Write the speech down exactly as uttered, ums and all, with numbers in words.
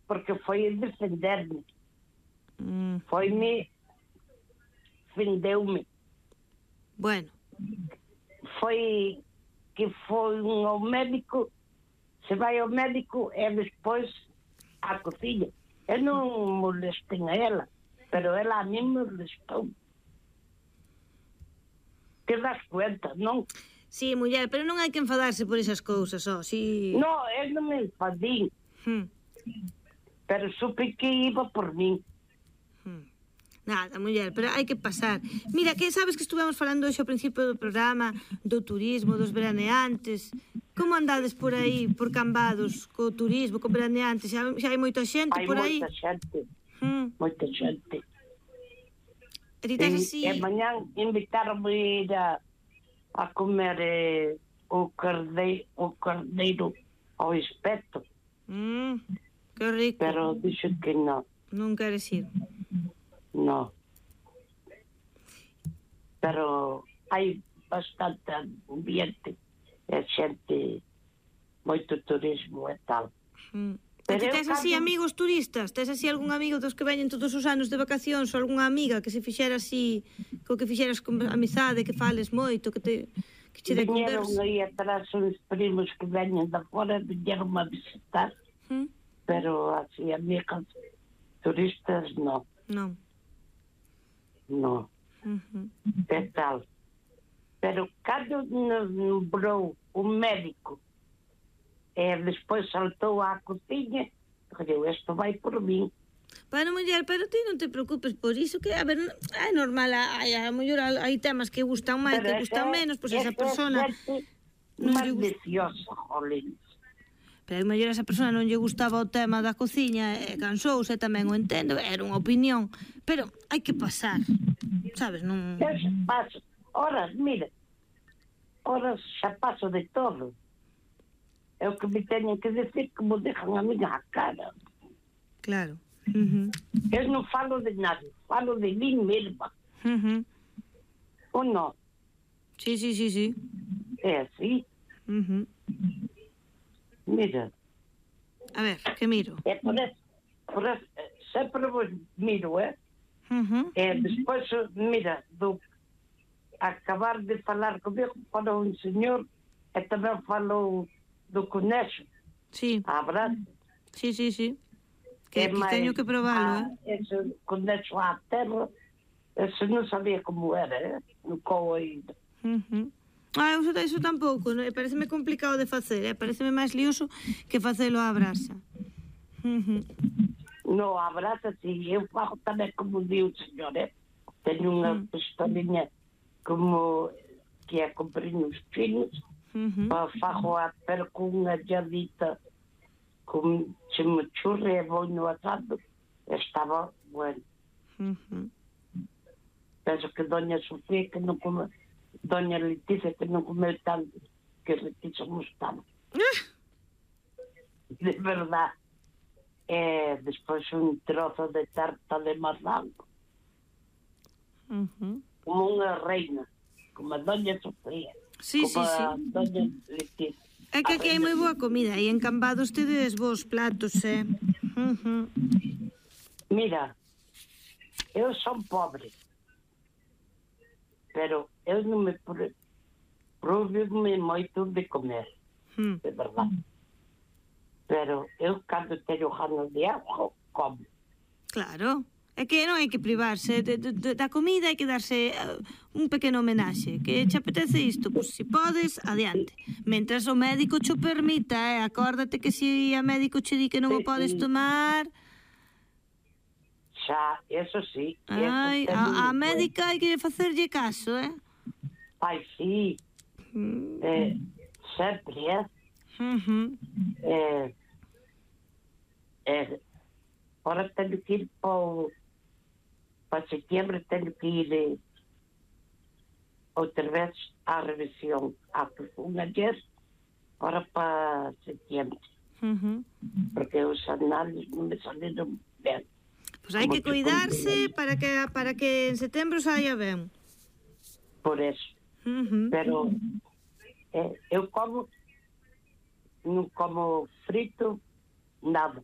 porque foi a defender-me. Mm. Foi-me, defendeu-me. Bueno. Foi que foi um ao médico, se vai ao médico é depois à cozinha. Eu não molestei a ela, pero ela a mim me molestou. Te das cuenta, non? Sí, muller, pero non hai que enfadarse por esas cousas, ó, si... No, eu non me enfadín. Hmm. Pero supe que iba por min. Hmm. Nada, muller, pero hai que pasar. Mira, que sabes que estuvemos falando hoxe ao principio do programa do turismo, dos veraneantes. Como andades por aí, por Cambados, co turismo, co veraneantes? Xa, xa hai moita xente Hai por aí? moita xente. Hmm. Moita xente. E ti tes así... E mañán invitaronme a ir a, a comer eh, o, cardeiro, o cardeiro ao espeto. Mm, que rico. Pero dixo que non. Non queres ir? Non. Pero hai bastante ambiente e xente, moito turismo e tal. Mm. E ti tes así cando... amigos turistas? Tes así algún amigo dos que veñen todos os anos de vacacións ou algunha amiga que se fixera así, co que fixeras con amizade, que fales moito, que te que che de conversa? Viñeron aí atrás uns primos que veñen de fora, viñeron a visitar, mm. pero así amigas turistas non. Non. Non. Uh-huh. É tal. Pero cando nombrou un médico e despois saltou á cociña, eu, isto vai por min. Bueno, muller, pero ti non te preocupes por iso, que, a ver, é normal, hai, a mellor hai temas que gustan máis, que gustan menos, pois esa persona... Maliciosa, jolín. Pero a mellor esa persona non lle gustaba o tema da cociña e cansouse, tamén o entendo, era unha opinión, pero hai que pasar, sabes, non... Eu xa paso, horas, mira, horas xa paso de todo. É o que me teñen que decir que me dejan a miña cara. Claro. Uh-huh. Eu non falo de nada, falo de mí mesma. Uh-huh. Ou non? Sí, sí, sí, sí. É así. Uh-huh. Mira. A ver, que miro? É por eso, por eso sempre vos miro, é? Uh-huh. E despois, mira, do acabar de falar comigo para un señor e tamén falou do conexo. Sí. Abrazo. Sí, sí, sí. Que, que teño que probalo, eh? Ese conexo á terra, ese non sabía como era, eh? Nunca o oído. Uh-huh. Ah, eu iso tampouco, non? Pareceme complicado de facer, eh? Pareceme máis lioso que facelo á brasa. Uh-huh. No, a brasa, si, eu fago tamén como di o señor, eh? Teño unha uh-huh. pistolinha como que é comprinhos finos, uh-huh. pa fago a pero con unha lladita con chimichurri e vou no asado, estaba bueno. Uh-huh. Penso que doña Sofía que non come, doña Leticia que non comeu tanto, que Leticia gustaba. Uh! De verdad. E despois un trozo de tarta de mazango. Uh-huh. Como unha reina, como a doña Sofía. Sí, como sí, sí. a doña Leticia. É que aquí hai moi boa comida e en Cambados tedes vos platos, eh? Uh-huh. Mira, eu son pobre, pero eu non me provo-me moito de comer, uh-huh. de verdade. Pero eu, cando teño ganas de algo, como. Claro. É que non hai que privarse de, de, de, da comida, hai que darse uh, un pequeno homenaxe. Que che apetece isto? Pois si podes, adiante. Mentras o médico cho permita, eh? Acórdate que se a médico che di que non sí, o podes tomar... Xa, eso sí. Ai, eso a, a médica hai que facerlle caso, eh? Ai, sí. Mm. Eh, sempre, eh? Uh-huh. Eh, eh, ahora teño que ir para para setembro, teño que ir eh, outra vez á revisión a un ayer, ahora para setembro. Uh-huh. Porque os análisis non me saliron ben. Pois pues hai que cuidarse para que para que en setembro saia ben. Por eso. Uh-huh. Pero eh, eu como non como frito nada.